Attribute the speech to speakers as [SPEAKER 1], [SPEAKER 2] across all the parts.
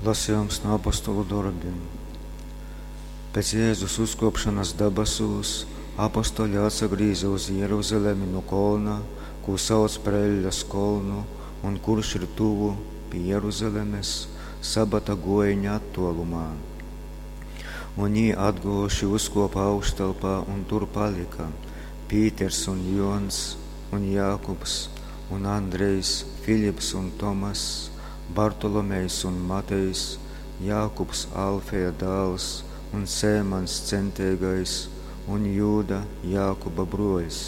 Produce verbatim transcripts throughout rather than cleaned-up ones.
[SPEAKER 1] Lasījums no apostolu dorbiem. Pēc Jēzus uzkopšanas dabasūs apostoļi atsagrīza uz Jeruzalemi nu kolna, kū sauc par Eļļas kolnu, un kurš ir tuvu pie Jeruzalemes, sabata gojiņa attuolumā. Un jī atguojuši uzkopa augštelpā un tur palika Pīters un Jons un Jākubs un Andrejs, Filips un Tomass, Bartolomejs un Matejs, Jākubs Alfeja dāls un Sēmans centīgais un Jūda Jākuba bruoļs.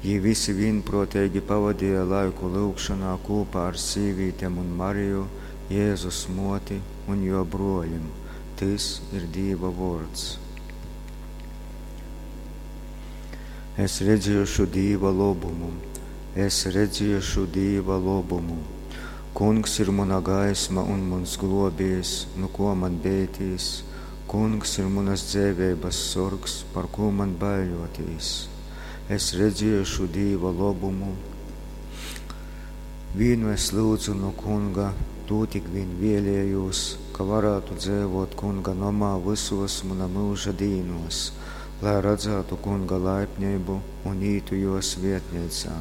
[SPEAKER 1] Jī visi vienprātīgi pavadīja laiku lūgšanā kopā ar sīvītēm un Mariju, Jēzus moti un jo bruoļim. Tys ir Dīva vōrds. Es redzēšu Dīva lobumu, es redzēšu Dīva lobumu. Kungs ir muna gaisma un muns globējs, nu ko man bētīs? Kungs ir munas dzeiveibas sorgs, par ko man baiļotīs? Es redzēšu Dīva lobumu. Vīnu es lūdzu no kunga, tū tik vien vēlējos, ka varētu dzīvot kunga nomā visos muna mūža dīnos, lai redzētu kunga laipnību un ītu jo svietnīcā.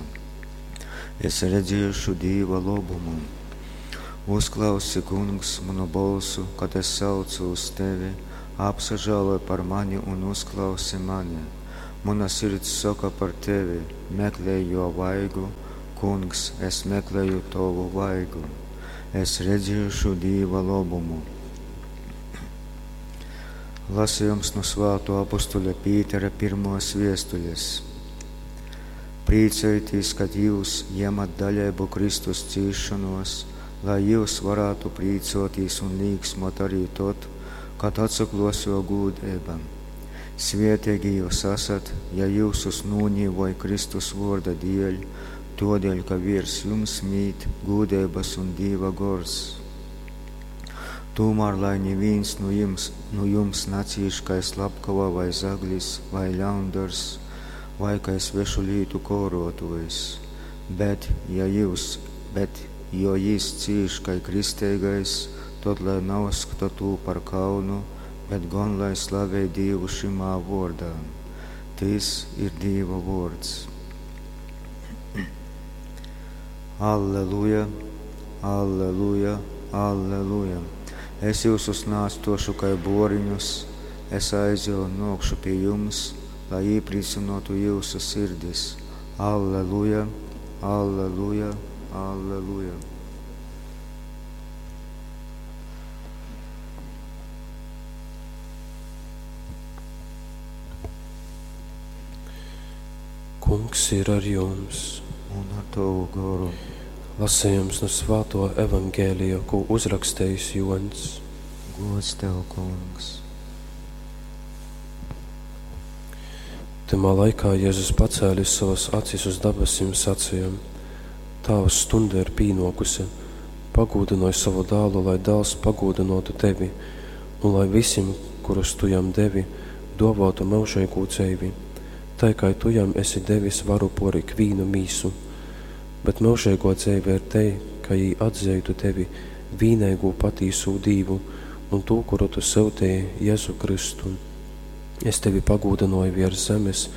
[SPEAKER 1] Es redzēšu Dīva lobumu. Uzklausi, kungs, manu bolsu, kad es saucu uz tevi, apsažāloj par mani un uzklausi mani. Mana sirds saka par tevi, meklēj jo vaigu, kungs, es meklēju tavu vaigu. Es redzēšu Dīva lobumu. Lasījums no svāto apostuļa Pītera pirmos viestuļas. Priecājieties, kad jūs ņemat daļēbu Kristus cīšanos, lai jūs varētu priecāties un līksmot arī tot, kad atsaklos jo gūdība. Svietīgi jūs esat, ja jūsus nūnīvoj Kristus vārda dēļ, todēļ, ka virs jums mīt gūdības un Dīva gors. Tomēr, lai neviens no jums, no jums nacīš kā slepkava vai zaglis vai ļaundars, vai kā svešu lītu korotojs, bet, ja jūs, bet, jo jis cīš kā kristīgais, tad lai neuzskata tū par kaunu, bet gan lai slavē Dievu šimā vārdā. Tys ir Dieva vārds. Alleluja, alleluja, alleluja. Es jūsus nāstošu kā boriņus, es aizju un nokšu pie jums, lai iepriecinātu jūsu sirdis. Alleluja, alleluja, alleluja.
[SPEAKER 2] Kungs ir ar jums.
[SPEAKER 1] Un ar tavu goru.
[SPEAKER 2] Lasījums no svāto evangēlija, ko uzrakstījis Jons.
[SPEAKER 1] Gods tev, kungs.
[SPEAKER 2] Tamā laikā Jēzus pacēlis savas acis uz dabasim sacīja: Tāvs, stunda ir pīnokusi, pagūdināj savu dēlu, lai dēls pagūdinotu tevi, un lai visiem, kurus tu jam devi, dāvātu mūžīgu dzīvi, tai kā tu jam esi devis varu por ikvīnu mīsu. Bet mūžīgo dzīve ir te, ka jī atzītu tevi, vīneigu patīsū Dīvu, un tū, kuru tu sūtīji, Jēzu Kristu. Es tevi pagūdināju virs zemes,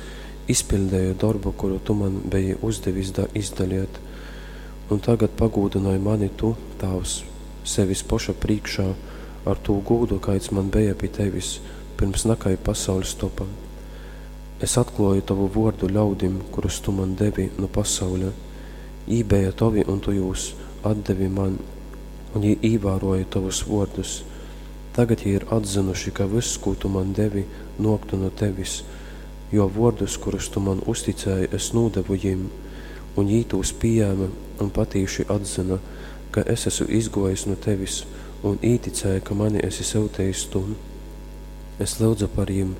[SPEAKER 2] izpildīju darbu, kuru tu man biji uzdevis da izdaliet. Un tagad pagūdināji mani tu, Tēvs, sevis poša priekšā, ar tū gūdu, kāds man bija pie tevis, pirms nakai pasaules topa. Es atklāju tavu vārdu ļaudim, kurus tu man devi no pasaules. Jī bija tavi, un tu jūs atdevi man, un jī īvēroja tavus vārdus. Tagad jī ir atzinuši, ka viss, ko tu man devi, noktu no tevis, jo vārdus, kurus tu man uzticēji, es nodevu jim, un jī tos pieņēma un patīši atzina, ka es esmu izgojis no tevis, un īticēja, ka mani esi sūtījis tu. Es lūdzu par jim,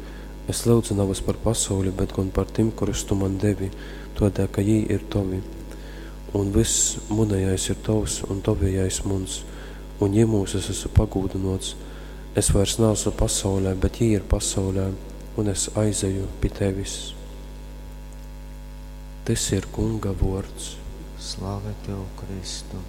[SPEAKER 2] es lūdzu nevis par pasauli, bet gan par tim, kurus tu man devi, todēļ, ka jī ir tavi. Un viss munējais ir tavs, un tavējais muns, un jimūs es esmu pagūdinots. Es vairs neesmu pasaulē, bet jī ir pasaulē, un es aizeju pie tevis. Tys ir Kunga vārds.
[SPEAKER 1] Slave tev, Kristu!